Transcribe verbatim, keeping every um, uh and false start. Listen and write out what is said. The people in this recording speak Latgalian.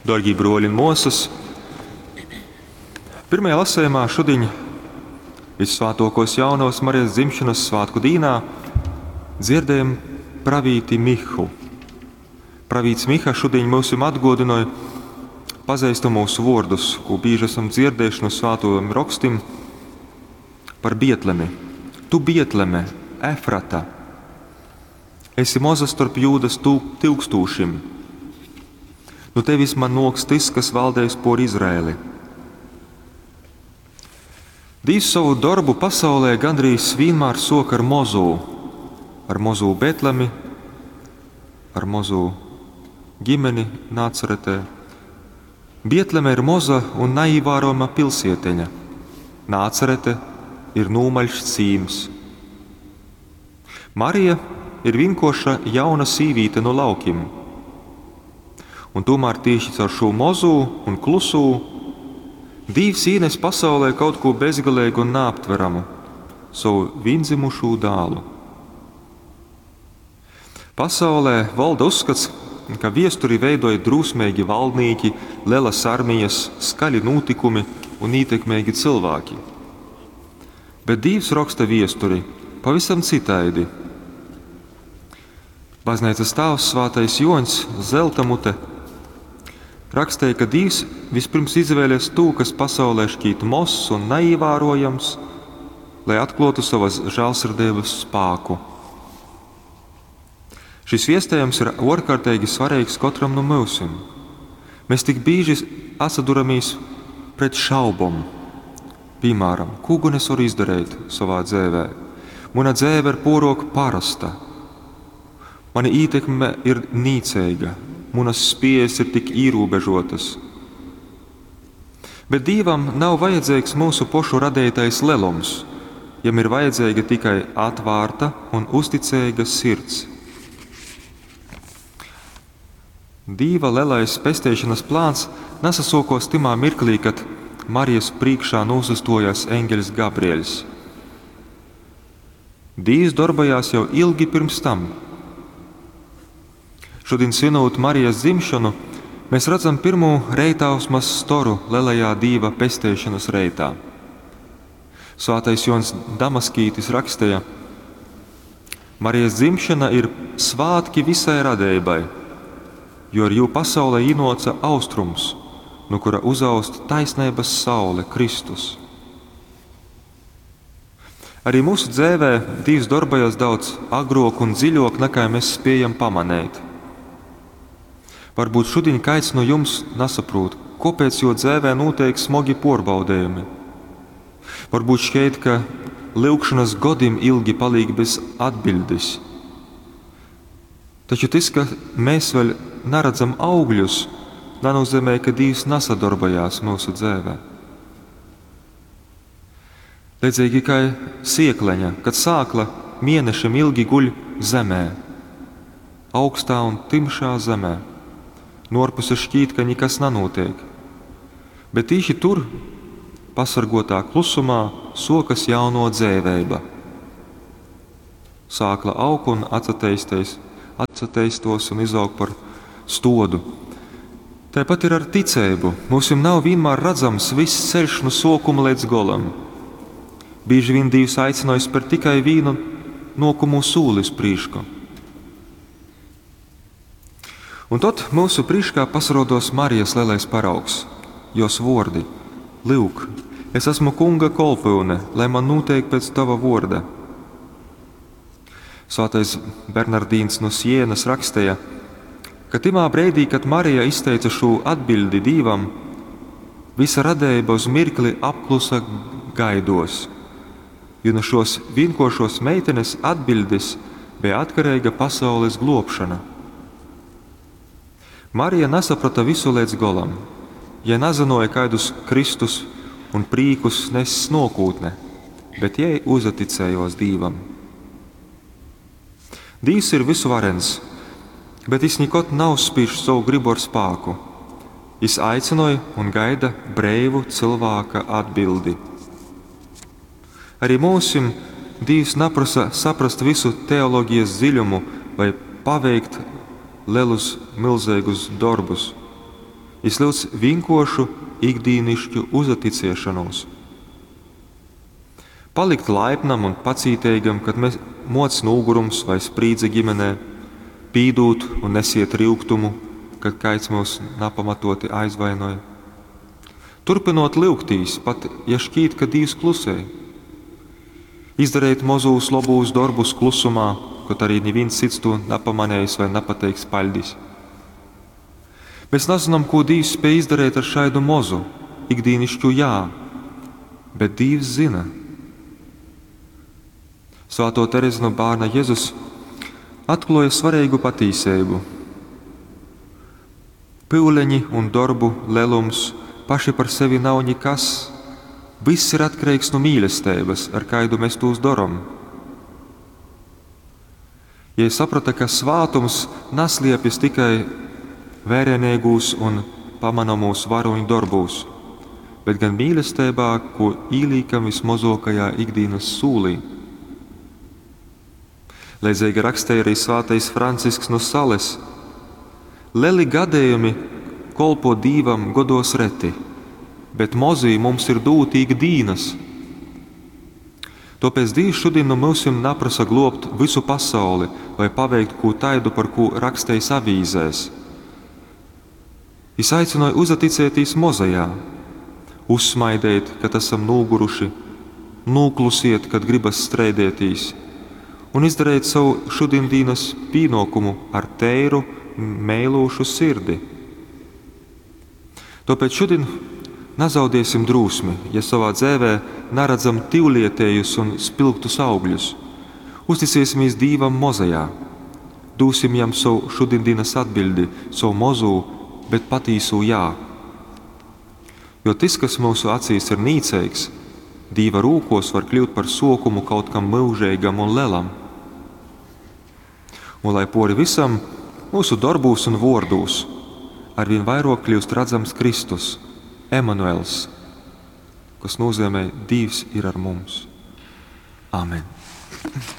Dārgie broļi un māsas, pirmajā lasījumā šodien, Vissvētākos Jaunavas Marijas dzimšanas svētku dīnā, dzirdējam pravīti Mihu. Pravīts Miha šodien mums atgodināja pazīstamos vārdus, ko bieži esam dzirdējuši no svētajiem rakstim par Bietlemi. Tu Bietleme, Efrata, esi moza starp Jūdas tūkstošiem. Nu tevis man noks tas, kas valdēs por Izraēli. Dīvs savu darbu pasaulē gandrīz vienmēr sok ar mozū, ar mozū Betlemi, ar mozū ģimeni Nācaretē. Bietleme ir moza un neīvērojama pilsieteņa. Nācarete ir nūmaļš cīms. Marija ir vienkoša jauna sīvīte no laukim. Un tomēr tieši caur šo mozū un klusū Dīvs ienes pasaulē kaut ko bezgalīgu un neaptveramu – savu viendzimušo dēlu. Pasaulē valda uzskats, ka viesturi veidoja drūsmīgi valdnieki, lielas armijas, skaļi notikumi un ietekmīgi cilvēki. Bet Dīvs raksta viesturi pavisam citaidi. Baznīcas tēvs Svētais Joņs Zeltamute rakstīja, ka Dīvs vispirms izvēlēs to, kas pasaulē šķiet mozs un neīvērojams, lai atklātu savas žēlsirdības spēku. Šis viestējums ir ārkārtīgi svarīgs katram no mūsim. Mēs tik bieži atsaduramies pret šaubom. Piemēram, ko gan es varu izdarīt savā dzīvē? Mana dzīve ir porok parasta. Mana ietekme ir nīcīga, manas spējas ir tik ierobežotas. Bet Dievam nav vajadzīgs mūsu pošu radītais lielums, jam ir vajadzīga tikai atvērta un uzticīga sirds. Dīva lielais pestīšanas plāns nesasokos timā mirklī, kad Marijas priekšā nūsastojās eņģelis Gabrieļs. Dīvs darbojās jau ilgi pirms tam. Šodien svinot Marijas dzimšanu, mēs redzam pirmo reitausmas storu lielajā Dīva pestīšanas reitā. Svētais Jons Damaskītis rakstīja: Marijas dzimšana ir svētki visai radībai, jo ar jū pasaulē ienāca austrums, no kura uzaust taisnības saule Kristus. Arī mūsu dzīvē Dievs darbojas daudz agrāk un dziļāk, nekā mēs spējam pamanīt. Varbūt šodien kāds no jums nesaprot, kāpēc jo dzīvē notiek smagi porbaudījumi. Varbūt šķiet, ka lūgšanas godim ilgi paliek bez atbildes. Taču tas, ka mēs vēl neredzam augļus, nenozīmē, ka Dievs nesadarbojās mūsu dzīvē. Līdzīgi kā siekleņa, kad sākla mēnešiem ilgi guļ zemē, augstā un timšā zemē. Norpuse šķiet, ka nekas nenotiek. Bet tieši tur, pasargotā klusumā, sokas jauno dzēvēba. Sākla aug un atsateisties, atsateistos un izaug par stodu. Tāpat ir ar ticību. Mums nav vienmēr redzams viss ceļš no sokuma līdz golam. Bieži vien Dievs aicināja spērt tikai vienu nokumu sūli uz prīšku. Un tad mūsu priekšā pasarodos Marijas lielais paraugs, jos vordi: Lūk, es esmu kunga kolpyune, lai man notiek pēc tava vorda. Svētais Bernardīns no Sienas rakstīja, ka timā brīdī, kad Marija izteica šo atbildi Dievam, visa radība uz mirkli apklusa gaidos, jo no šos vienkošos meitenes atbildes bija atkarīga pasaules globšana. Marija nesaprata visu līdz golam, ja nezināja, kādus Kristus un prīkus nes nokūtne, bet jai uzaticējos Dīvam. Dīvs ir visuvarens, bet jis nekad nav spīš savu gribu ar spāku. Jis aicināja un gaida breivu cilvēka atbildi. Arī mūsim Dīvs neprasa saprast visu teoloģijas dziļumu vai paveikt lielus, milzīgus darbus. Jis lyudz vīnkuoršu ikdīnišķu uzaticiešonūs. Palikt laipnam un pacīteigam, kad mēs moc nūgurums vai sprīdze ģimenē, pīdūt un nesiet ryugtumu, kad kaids mūs napamatoti aizvainoj. Turpinot lyugtīs, pat ja šķīt, ka Dīvs klusē. Izdareit mozūs lobūs dorbus klusumā, kaut arī nivīns cits to napamanējis vai napateiks paļdis. Mēs nazinām, ko Dīvs spēj izdarīt ar šaidu mozu, ikdīnišķu jā, bet Dīvs zina. Svāto Terezi no bērna Jēzus atklāja svarīgu patīsību. Pyuleņi un dorbu lelums paši par sevi nav nikas. Viss ir atkarīgs no mīlestības, ar kaidu mēs tos darom. Ja saprata, ka svātums nasliepjas tikai vērienīgūs un pamanāmūs varoņu darbūs, bet gan mīlestībā, ko īlīkam vismazākajā ikdienas sūlī. Leidzīgi rakstīja arī svētais Francisks no Sales. Leli gadījumi kolpo Dīvam godos reti, bet mozī mums ir dūti ikdienas. Tāpēc Dievs šodien no mūsim naprasa globt visu pasauli vai paveikt ko taidu, par ko rakstējis avīzēs. Jis aicināja uzaticēties mozajā, uzsmaidēt, kad esam noguruši, nūklusiet, kad gribas streidētīs, un izdarīt savu šodienas pienākumu ar teiru, mēlūšu sirdi. Tāpēc šodien nazaudēsim drūsmi, ja savā dzēvē naredzam tivlietējus un spilgtus augļus. Uzticēsimies Dīvam mozajā, dūsim jam savu šodienas atbildi, savu mozū, bet patīsū jā. Jo tas, kas mūsu acīs ir nīceigs, Dīva rūkos var kļūt par sokumu kaut kam mūžīgam un lelam. Un lai pori visam, mūsu darbūs un vordūs arvien vairāk kļūst redzams Kristus, Emanuels, kas nozīmē Dievs ir ar mums. Amen.